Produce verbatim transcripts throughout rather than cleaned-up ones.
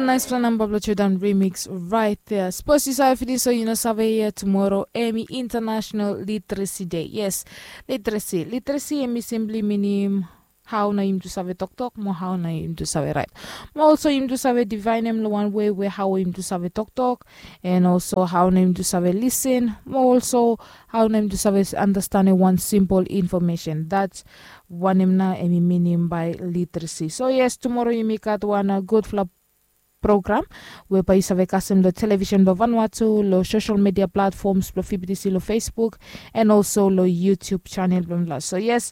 Naispela namba blong Jordan remix right there. Sapos yu save finis o yu no save, ya tumoro em i International Literacy Day. Yes, literacy. Literacy em i simply minim hao nao yumi tu save toktok mo hao nao yumi tu save rait. Mo olso yumi tu save divaenem long wan wei we hao yumi tu save toktok, and olso hao nao yumi tu save lisin, mo olso hao nao yumi tu save andastanem wan simpol infomesen. Dats wanem nao em i minim bae literacy. So yes, tumoro yumi gat wan gudfala program we bae yu save kasem long televisen blong Vanuatu, long sosel media platfoms blong Fibitisi, long Facebook, and olso long YouTube chanel blong mipela. So yes,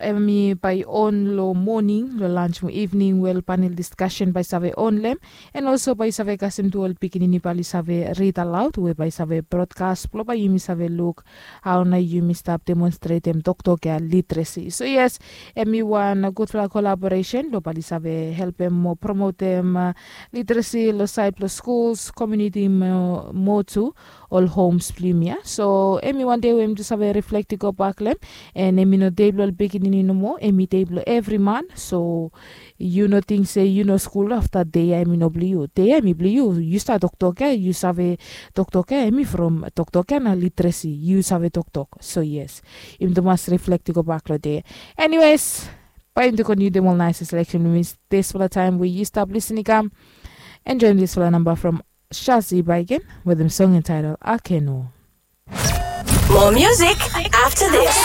em i bae on long moning, long lans mo evening, wel, panel diskasen bae save on long em. And olso bae yu save kasem tu ol pikinini bae oli save rid alaod we bae save brodkas blong bae yumi save luk hao nao yumi stap demonstretem toktok ya, literacy. So yes, em i wan gudfala kolaboresen blong bae oli save helpem mo promotem literacy long saed blong skuls, komuniti mo tu ol homs blong yumi ya. So em i wan dei we yumi tu save riflekt i gobak long em. And em i no dei blong ol pikinini nomo, em i dei blong evri man. So yu no ting se yu no skul afta dei ya em i no blong yu. Dei ya em i blong yu. Yu stap toktok ya, yu save toktok ya, em i from toktok ya na literacy yu save toktok. So yes, yumi tu mas riflekt i gobak long dei ya. Anyways, bae yumi tu kontiniu dem ol naes seleksen blong mi dispela taem we yu stap lisin i kam. Enjoem dispela namba from Shazi Baigen wetem song entitled Akeno. More music after this.